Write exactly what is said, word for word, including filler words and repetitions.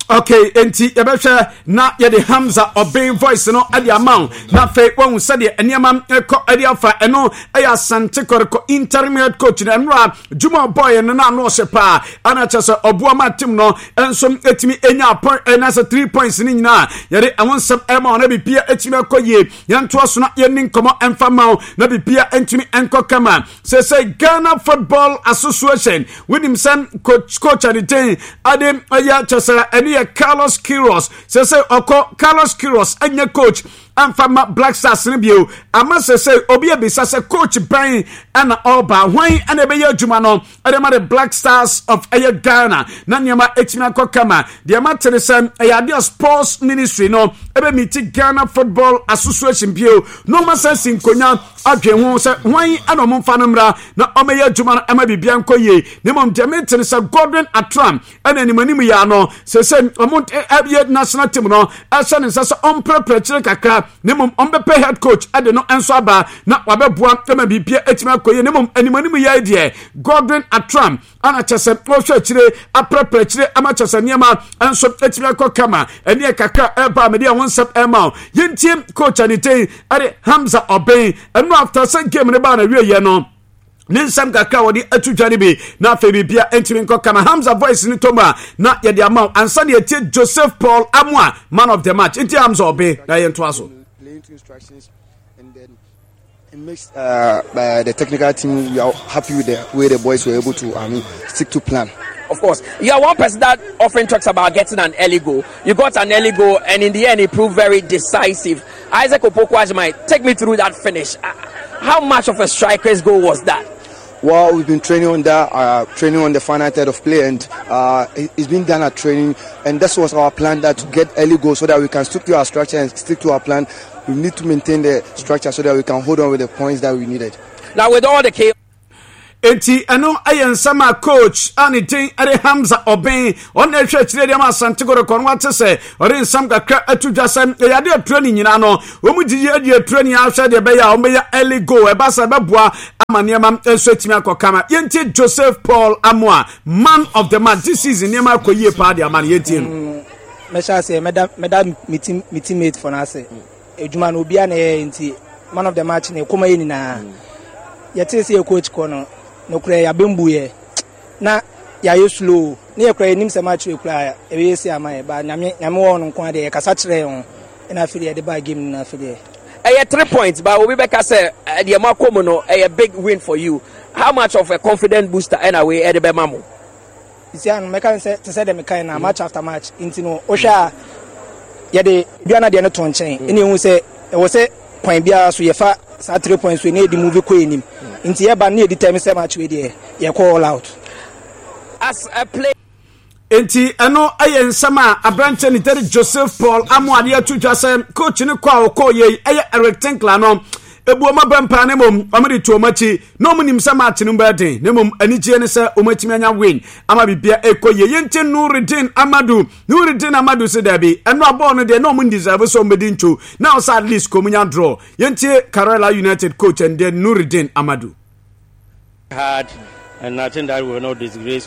Okay, enti yɛbɛhwɛ na yɛde Hamza Ɔben voice no de ama wo na afei wahu sɛdeɛ nneɛma ɛkɔ ɛde afa. Ɛno ɛyɛ Asante Kɔtɔkɔ interim head coach no. Ɛno a dwuma ɔbɔɔyɛ no na ano ɔhyɛ paa, ana kyerɛ sɛ ɔboa ma team no nso ɛtumi ɛnya point, ɛna sɛ three points no nyinaa yɛde ɛho nsɛm ɛma wo na bibia ɛtumi akɔ yie. Yɛntoa so na yɛnni nkɔmmɔ ɛmfa ma wo na bibia ɛntumi ɛnkɔ kama. Sɛ sɛ Ghana Football Association, wonim sɛ coach coach adeten ade ɛyɛ kyɛ sɛ ɛne yɛ Carlos Queiroz. Sɛ sɛ ɔkɔ, Carlos Queiroz ɛnyɛ coach amfa ma Black Stars no bio. Ama sɛ sɛ obi abisa sɛ coach bɛn ɛna ɔba, hwan ɛna ɛbɛyɛ adwuma no ɛde ma the Black Stars of ɛyɛ Ghana na nneɛma ɛtumi akɔ kama. Deɛ ma tere sɛ ɛyɛ adeɛ Sports Ministry no ɛbɛmiti Ghana Football Association bio na ɔma sɛ si nkonnwa adwe ho sɛ hwan ɛna ɔmo mfa no mmra na ɔmɛyɛ adwuma no ɛma biribia nkɔ yie. Na mmom deɛ metere sɛ Godwin Attram ɛna anim anim yɛ ano sɛ sɛ ɔmo ɛyɛ national team no ɛhyɛ ne nsa sɛ ɔmprɛprɛ kyerɛ kakra, na mmom ɔmbɛpɛ head coach ɛde no nso aba na wabɛboa ɛma biribia ɛtumi akɔ yie. Na mmom anim anim yɛ deɛ, Godwin Attram ana kyɛ sɛ ɔhwɛ akyire aprɛprɛ akyire ama kyɛ sɛ nneɛma nso atumi akɔ kama. Ɛneɛ kakra ɛba a mede ɛho nsɛm ɛma wo. Yɛntie coach aniten ɛde Hamza Ɔbɛn ɛno after sɛ game no baa na wieɛ no, ne nsɛm kakra a wɔde ato dwa no bi na afei biribia ntumi nkɔ kama. Hamza voice no tɔm a na yɛde ama wo ansa ne yɛtie Joseph Paul Amoa, man of the match. Nti Hamza Ɔbɛn na yɛntoa so. Playing to instructions and then it makes uh, uh, the technical team, we are happy with the way the boys were able to, I mean, stick to plan. Of course, you are one person that often talks about getting an early goal. You got an early goal, and in the end, it proved very decisive. Isaac Opoku Agyemang, take me through that finish. Uh, How much of a striker's goal was that? Well, we've been training on that, uh, training on the final third of play, and uh, it- it's been done at training. And that was our plan, that to get early goals so that we can stick to our structure and stick to our plan. We need to maintain the structure so that we can hold on with the points that we needed. Now, with all the chaos, Enti ɛno ɛyɛ nsɛm a coach a ne din ɛde Hamza Ɔbɛn, ɔna ɛhwɛ akyire deɛ ma Asante Kɔtɔkɔ no, wate sɛ ɔde nsɛm kakra ato dwa sɛ ɛyɛ ade atura ne nyinaa no, wɔn gyigyi adi atura ne ahwɛ deɛ ɛbɛyɛ a wɔbɛyɛ early goal, ɛba sɛ ɛbɛboa ama nneɛma nso atumi akɔ kama. Yɛntie Joseph Paul Amoa, man of the match this season. Nneɛma akɔ yie paa de ama no. Yɛntie no. Mɛhyɛ aseɛ, mɛda mɛda me team me teammate for n'ase adwuma no obiara na ɛyɛ, nti man of the match na ɛkɔma yɛ nyinaa. Yɛtee sɛ yɛ coach kɔ no, nokorɛ yɛabɛmbu yɛ na yɛayɛ slow ne yɛkora yɛnim sɛ match wei koraa ɛbɛyɛ si ama yɛ ba. Nyame, Nyame wɔ no nko adeɛ, yɛkasa kyerɛ yɛn ho ɛna afei deɛ yɛde baa game no na afei deɛ ɛyɛ three points, but obi bɛka sɛ eh, deɛ mo akɔ mu no ɛyɛ big win for you. How much of a confident booster ɛna wei ɛde bɛma mo? Sisi ano mɛka ne sɛ te sɛ deɛ mekae na match after match nti no, wohwɛ a yɛde aduana deɛ no to nkyɛn ɛna ehu sɛ ɛwɔ sɛ kwan biara so yɛfa saa three points wei na yɛde move kɔ anim, nti yɛba no na yɛdi time sɛ match wei deɛ yɛkɔ all out. As a player, Enti ɛno ɛyɛ nsɛm a aberanteɛ ne tɛde Joseph Paul Amoade ato dwa sɛ coach no kɔ a ɔkɔɔ yei ɛyɛ Eric Tinkler no ebu ɔmo abɛmpa, ne mmom ɔmo de to ɔmo akyi na ɔmo nim sɛ match no bɛyɛ den, ne mmom anigyeɛ ne sɛ ɔmo atumi anya win ama bibia ɛkɔ yie. Yɛnti Nuridin Amadu, Nuridin Amadu sɛ daabi, ɛno abɔɔ no deɛ na ɔmo deserve sɛ ɔmo bɛdi ntwo na ɔsɛ at least kɔm nya draw. Yɛntie Karela United coach and then Nuridin Amadu. Hard, and I think that we will not disgrace